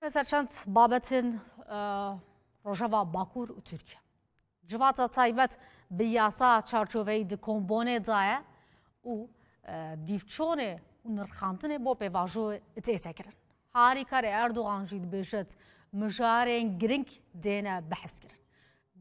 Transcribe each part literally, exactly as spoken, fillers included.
Ser çend babetên e, Rojava Bakur û Tirkiye. Civata taybet bi yasa çarçoveyî di kombonê de ye û e, dîvçonê û nirxandinê bo pêvajoyê tête kirin. Harîkarê Erdogan jî dibêjit mijarên girîng dêne bihezkirin.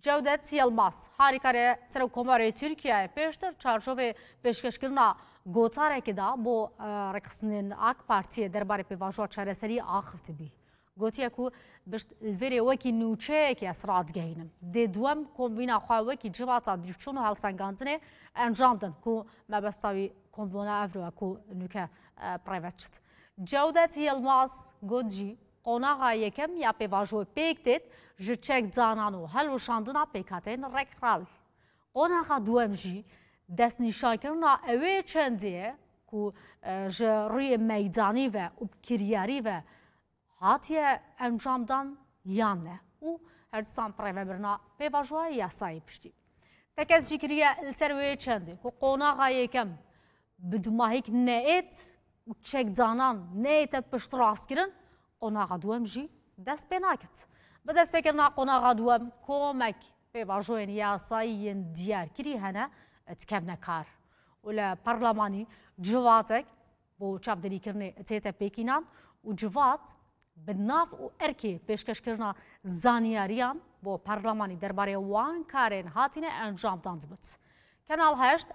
Cewdet Yilmaz, harîkarê Serokkomarê Tirkiyeyê pêştir çarçovê pêşkeşkirina gotarekê de bo e, rêxistinên AK Partiyê derbarê pêvajoya çareseriyê axivtibî. Gotiye ku pişt li vêrê wekî nûçeyekê ez radigehînim. Dê duwem kombîna xwe wekî civata dîvçûn û helsengandinê encam din ku mebesta wî kombona evro ye ku nûke e, preve çit. Cewdet Yilmaz got jî, qonaxa yekem ya pêvajoyê pêk têt ji çekdanan û helweşandina pêkhateyên rêkxirawî. Qonaxa duwem jî destnîşankirina ewê çendê ye ku e, ji rûyê meydanî ve û bi kiryarî ve hatiye encamdan yan ne û her disan bi rêvebirina pêvajoya yasayê piştî. Tekez jî kiriye li ser wê çendê ku qonaxa yekem bi dumahîk neêt û çekdanan neête piştrastkirin, qonaxa duwem jî dest pê naket. Bi destpêkirina qonaxa duwem komek pêvajoyên yasayî yên diyarkirî hene dikevne kar û li perlemanî civatek bo çavdêrîkirinê tête pêkînan û civat bi nav û erkê pêşkeşkirina zanyariyan bo perlemanî derbarê wan karên hatine encamdan dibit. Kanal heşt